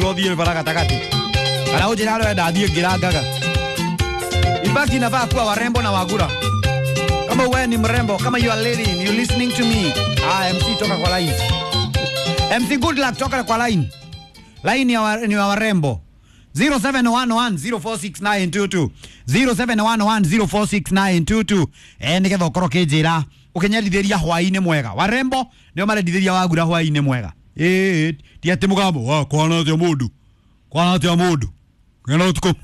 Ũthiĩ bara gatagatĩ kana ũnjĩre harĩa ũrenda thiĩ ngĩrangaga. In fact, inafaa kuwa warembo na wagura. Kama wewe ni mrembo, kama you are lady, you listening to me. Ah, MC toka kwa line. MC good luck toka kwa line. Line ya ni wa warembo. 0711046922 0711046922. Nigetha ukorwo kinjira ukinyendithĩria hwaĩ-inĩ mwega. Warembo nĩo marendithĩria wagura hwaĩ-inĩ mwega. Ĩĩ, ti atĩ mũgambo wa kwana atĩa mũndũ, kwana atĩa mũndũ ngena ũtukũ.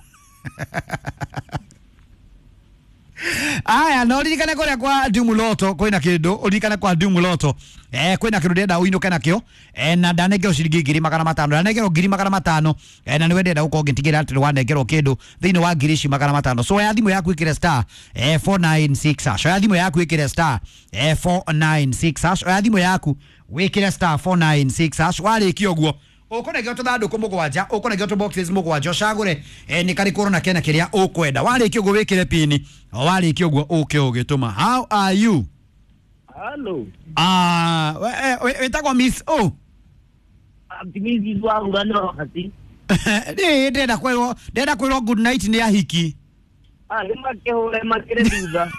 Aya, na uririkane kuria kwa Ndumuloto kwina kindu, uririkane kwa Ndumuloto kwina kindu ndenda uinuke nakio, na ndanengerwo ciringi 500,000, ndanengerwo 500,000, na niwe ndenda gukorwo ngitigira ati wanengerwo kindu thiini wa ngiri ici 500. So ya thimu yaku ikire star 496 hash, ya thimu yaku ikire star 496 hash, ya thimu yaku wikire star 496 hash. Warikia uguo ukunengera tuthanduku mugwanja, ukunengera tu boxes mugwanja, ucagure ni kariku urona kena kiria ukwenda. Warikia uguo wikire pini, warikia uguo uke ugituma. How are you? Hello. Ah, wetagwo Miss O. Mrs. Wagura nĩ wakati. Ĩ ndĩrenda kwĩrwo, ndĩrenda kwĩrwo good night nĩ ahiki. Ah, nĩ makĩhũre makĩrĩ thutha.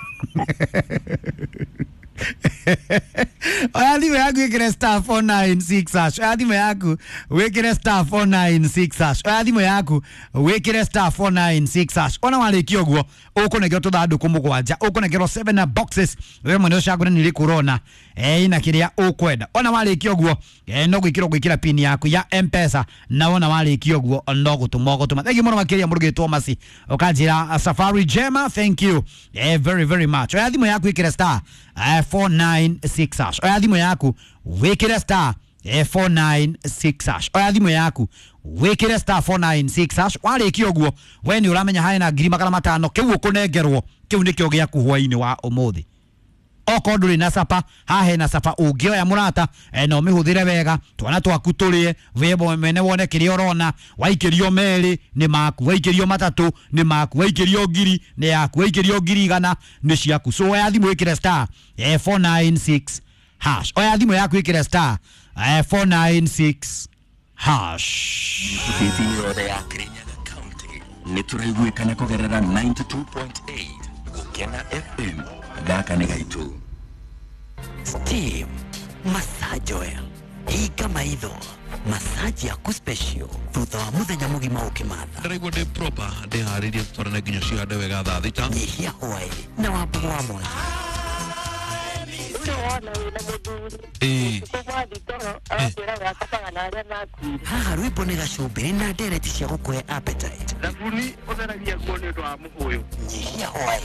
Oya thimũ yaku ĩkĩre star 496 hash. Oya thimũ yaku wĩkĩre star 496 hash. Oya thimũ yaku wĩkĩre star 496 hash. Ona warĩkia ũguo ũkũnengerwo tũthandũkũ mũgwanja, ũkũnengerwo 7 boxes, we mwene ũcagũre nĩ rĩkũ ũrona ina kĩrĩa ũkwenda. Ona warĩkia ũguo no gwĩkĩra ũgwĩkĩra pin yaku ya M-Pesa, na wona warĩkia ũguo no gũtũma ũgũtũma. Thank you mũno makĩria mũrugĩtwo Masi, ũkanjĩra safari njema, thank you very very much. Oya thimũ yaku ĩkĩre star 496 hash. Oya thimũ yaku wĩkĩre star 496 hash. Oya thimũ yaku wĩkĩre star 496 hash. Warĩkia ũguo we nĩ ũramenya harĩ na 500,000 kĩu ũkũnengerwo, kĩu nĩkĩo gĩaku hwaĩ-inĩ wa ũmũthĩ. Okorwo ndũrĩ na capa, haha hena capa ũngĩoya mũrata, na ũmĩhũthĩre wega, twana twaku tũrĩe, we mwene wone kĩrĩa ũrona. Waikĩrio merĩ nĩ maku, waikĩrio matatũ nĩ maku, waikĩrio ngiri nĩ yaku, waikĩrio 100,000 nĩ ciaku. So oya thimũ ĩkĩre star 496 hash. Oya thimũ yaku ĩkĩre star 496 hash. Thĩinĩ yothe ya Kirinyaga County nĩ tũraiguĩkana kũgerera 92.8 Gũkena FM. Gaka nĩ gaitũ. Steam Massage Oil, hinga maitho, massage yaku special thutha wa muthenya mugima ukimatha. Ndĩraigua ndĩ proper, ndĩharĩrie tũtwarane nginya cihande wega thaa thita. Nyihia hwaĩ na wambugu wa mwanya. Ĩĩ. Haha rwĩmbo nĩ gacumbĩrĩ na ndereti cia gũkũhe appetite. Thabuni ũtheragia nguo nĩ ũndũ wa mũhũyũ. Nyihia hwaĩ.